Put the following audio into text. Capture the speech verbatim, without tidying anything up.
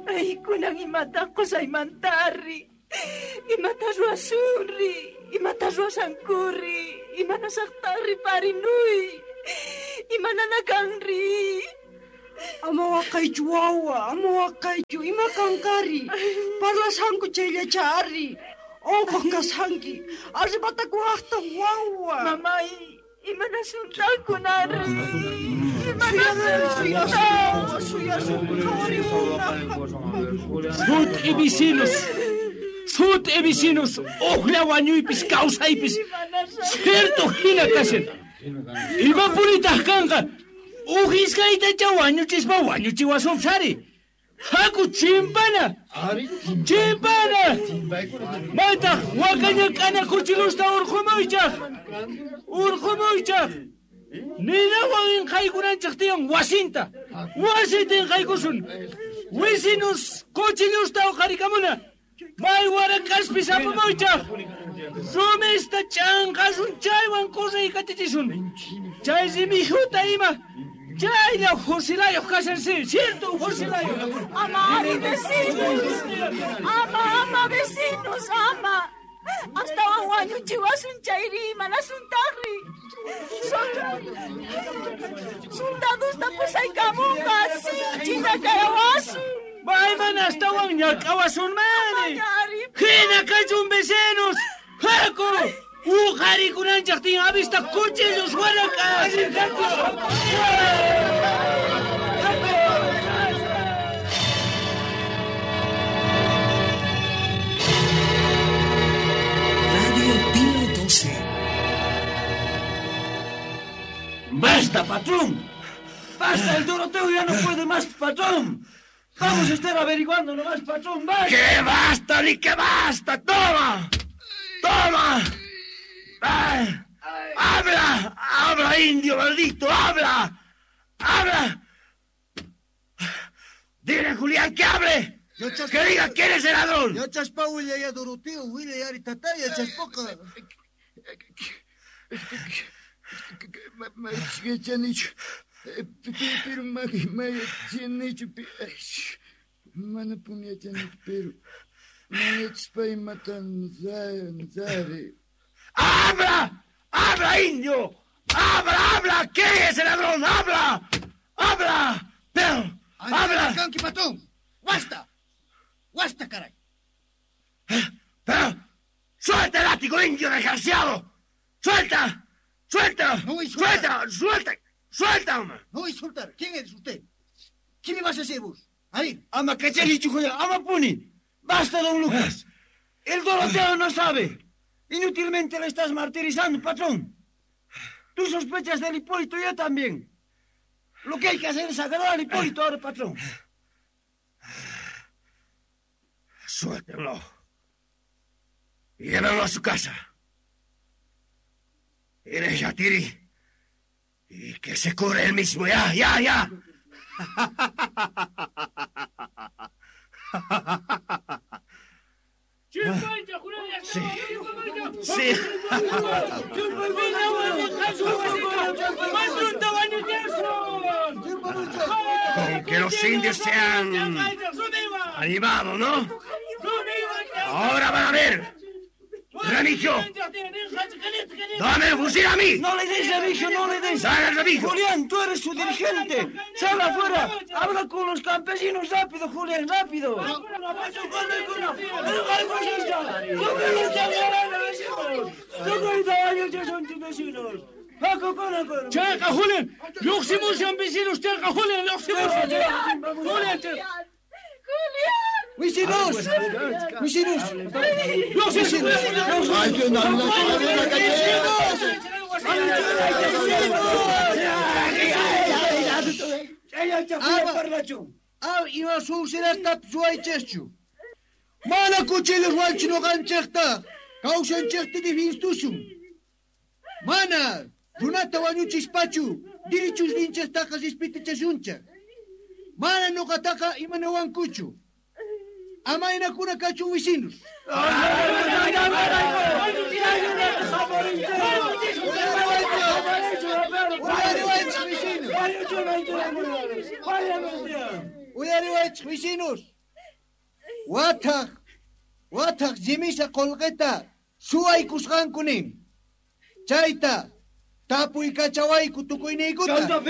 Ay, kunan imata qosaymantari. Imata ruwasunri, imata ruwasankuri, imanasaqtari parinuy, imananakanri. Ama waqaychu wawa, ama waqaychu, ima kankari. Parlasanku chayllachari. Onqoq kashanki, arribatakuwaqta wawa. Mamay, imanasuntakunari. Sut'i vecinos, sut'i vecinos, uqlla wañuypis kawsaypis, cierto hina kashan. Imapunitaq kanqa, uq iskaytacha wañuchispa wañuchiwasunpis. Haku chimpana, chimpana. Maytaq wakaña k'ana kuchilusta urqumuychaq, urqumuychaq. Ninawan inqaykunanchaq tiyan wasinta, wasinta inqaykusun. Wisinus kuchillusta uqarikamuna, may warak'aspis apamuychaq. Rumista ch'anqasun chaywan kurraykatichisun. Chay rimijuta ima, chaylla fusilayuq kashan, sí, cierto fusilayuq. Ama ari vecinos, ama, ama vecinos, ama. Astawan wañuchiwasun chayri imanasuntaqri. Soldadusta pusaykamunqa, sinchi ñak'awasun. Mayman astawan ñak'awasunmani. Hina kachun vecinos, haku. Uqarikunanchaq tiyan avista cuchillos warak'as. Radio Pío doce. ¡Basta, patrón! ¡Basta! El Doroteo ya no puede más, patrón. Vamos a estar averiguando nomás, patrón. ¡Basta! ¡Que basta, ni que basta! ¡Toma! ¡Toma! ¡Ay! ¡Habla! ¡Habla, indio maldito! ¡Habla! ¡Habla! ¡Dile, Julián, que hable! ¡Que diga quién es el ladrón! Ya chaspa ya Doroteo, ya tataya chaspoca. ¡Habla! ¡Habla, indio! ¡Habla, habla! ¿Quién es el ladrón? ¡Habla! ¡Habla! ¡Pero! ¡Habla! ¡Basta! ¡Basta, caray! ¡Pero! ¡Suelta el látigo, indio desgraciado! ¡Suelta! ¡Suelta! No voy a soltar. ¡Suelta! ¡Suelta! ¡Suelta, hombre! No voy a soltar. ¿Quién eres usted? ¿Qué me vas a hacer vos? A ver. Ama cacharichu, joder. Ama puni. ¡Basta, don Lucas! El Doroteo no sabe. Inútilmente le estás martirizando, patrón. Tú sospechas del Hipólito, yo también. Lo que hay que hacer es agarrar al Hipólito ahora, patrón. Suéltenlo. Y llévenlo a su casa. Eres Yatiri. Y que se cure él mismo. Ya, ya, ya. Sí. Sí. Con que los indios se han animado, ¿no? Ahora van a ver. ¡Remigio! ¡Dame el fusil a mí! ¡No le des, Remigio, no le des! ¡Dale, Remigio! ¡Julián, tú eres su dirigente! ¡Sal afuera! ¡Habla con los campesinos rápido, Julián, rápido! ¡Checa, Julián! ¡Lluqsimushan vecinos! ¡Checa, Julián! ¡Lluqsimushan! ¡Julián! ¡Julián! ¡Vecinos! ¡Vecinos! ¡Vecinos! Ah, ima suusirastapis ruwaychikchu. Mana cuchillos ruwanchu ñuqanchikta, kawsanchikta difinstusun. Mana runata wañuchispachu, dirichusninchiktaqa rispitichasunchik. Mana ñuqataqa imanawankuchu. Amaynakuna kachun vecinos. Uyariwaychej vecinos. Wathaj, wathaj llimisa qolqeta suwaykusqanku nin. Chayta tapuykachawayku tukuyniykuta.